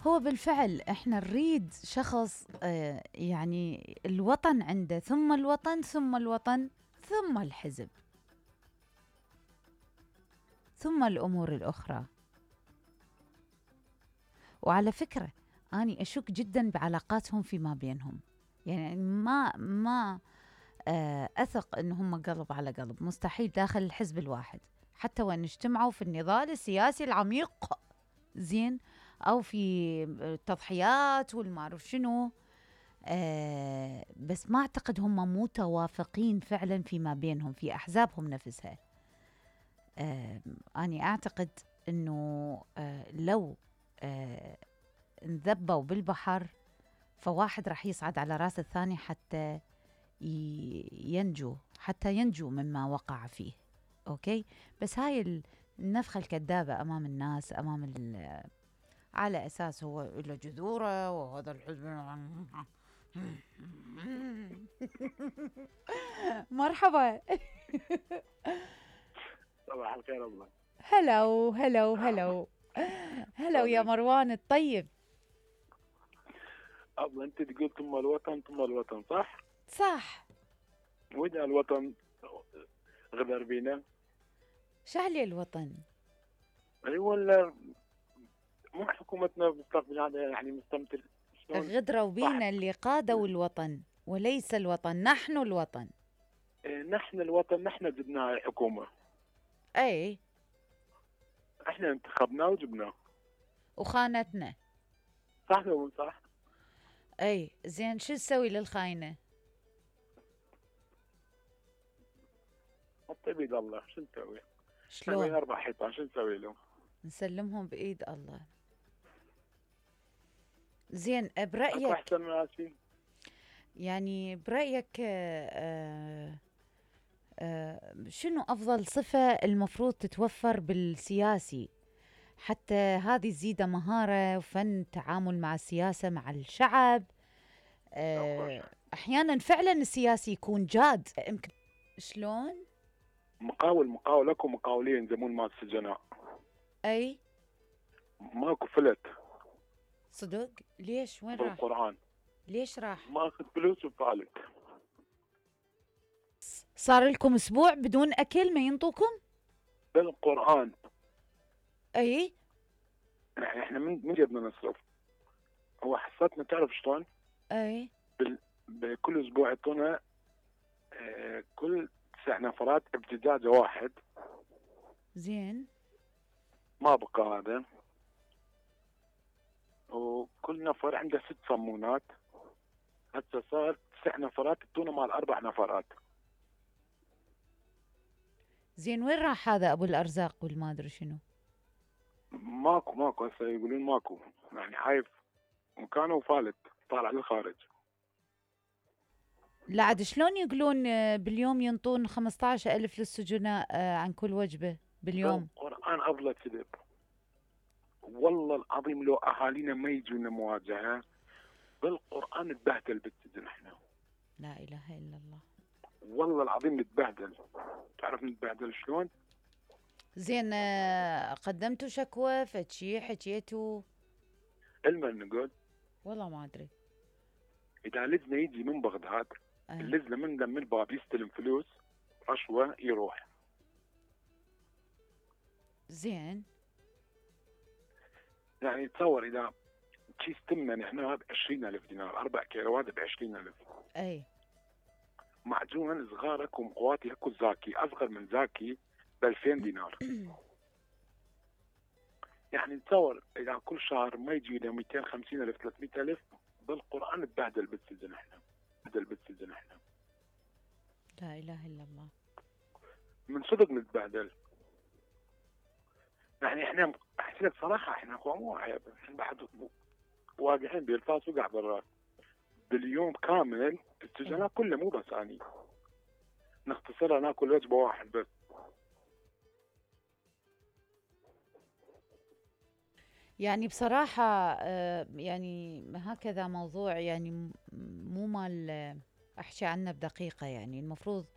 هو بالفعل احنا نريد شخص يعني الوطن عنده، ثم الوطن، ثم الوطن، ثم الحزب، ثم الأمور الأخرى. وعلى فكرة أني أشك جدا بعلاقاتهم فيما بينهم، يعني ما أثق أنهم قلب على قلب، مستحيل داخل الحزب الواحد حتى وإن اجتمعوا في النضال السياسي العميق زين أو في التضحيات والمعرف شنو، بس ما أعتقد هم متوافقين فعلا فيما بينهم في أحزابهم نفسها. أنا أعتقد أنه لو انذبوا بالبحر فواحد راح يصعد على راس الثاني حتى ينجو مما وقع فيه. أوكي، بس هاي النفخة الكذابة أمام الناس، على أساس هو له جذوره وهذا الحزب. مرحبا. صباح الخير. الله هلو هلو هلو هلو يا مروان الطيب. أبلا أنت تقول ثم الوطن صح؟ صح. وإذا الوطن غدر بينا شعلي الوطن ولا مو حكومتنا مستقبل هذا يعني مستمتر غدروا بينا اللي قادوا الوطن وليس الوطن، نحن الوطن. نحن الوطن، نحن جبنا الحكومة. اي احنا انتخبناه وجبناه وخانتنا. صح ولا مو صح؟ اي زين، شو نسوي للخاينة؟ حطي بيد الله، شو نسوي؟ شلون؟ 4 حيطان شو نسوي لهم؟ نسلمهم بإيد الله. زين برأيك أحسن من آسفين. يعني برأيك شنو أفضل صفة المفروض تتوفر بالسياسي حتى هذه تزيد مهارة وفن تعامل مع السياسة مع الشعب؟ أحيانا فعلا السياسي يكون جاد. يمكن شلون؟ مقاول اكو مقاولين زمون مال السجناء. أي ماكو فلت. صدق؟ ليش؟ وين راح؟ بالقرآن. ليش راح؟ ماخذ فلوس وفالت. صار لكم أسبوع بدون أكل ما ينطوكم؟ بالقرآن. أي يعني احنا من جبنا نصرف؟ هو حصتنا تعرف شلون؟ أي بكل اسبوع يعطونا كل 9 نفرات ابتزاز واحد. زين. ما بقى هذا. وكل نفر عنده 6 صمونات. هسه صار 9 نفرات يعطونا مال 4 نفرات. زين، وين راح هذا ابو الارزاق والما ادري شنو؟ ماكو هسه يقولون ماكو، يعني عايف مكانه وفالت طالع للخارج. لا عاد شلون يقولون باليوم ينطون 15,000 للسجناء عن كل وجبة باليوم؟ القرآن أفضل كذب. والله العظيم لو أهالينا ما يجونا مواجهة بالقرآن نتبهدل بالسجن احنا. لا إله إلا الله. والله العظيم نتبهدل. تعرف نتبهدل شلون؟ زين قدمتوا شكوى فشي حكيتوا؟ المن نقول والله ما أدري. إذا لجنة يجي من بغداد اللجنة من دم الباب يستلم فلوس رشوة يروح. زين. يعني تصور إذا كيس تمن احنا هذا 20,000 دينار، 4 كيلوات ب20,000. أي معجون صغارك ومقواتي اكو زاكي اصغر من زاكي ب2000 دينار. يعني تصور اذا كل شهر ما يجي له 250,000 300,000 بالقرآن تبهدل بالسجن احنا. لا إله إلا الله. من صدق نتبهدل. يعني احنا احكي لك صراحة احنا مو عيب، احنا بعد واقعين بالفاس وقع بالراس. باليوم كامل السجناء كله مو بس اني نختصرها ناكل وجبة واحد بس. يعني بصراحة يعني هكذا موضوع يعني مو مال أحكي عنه بدقيقة. يعني المفروض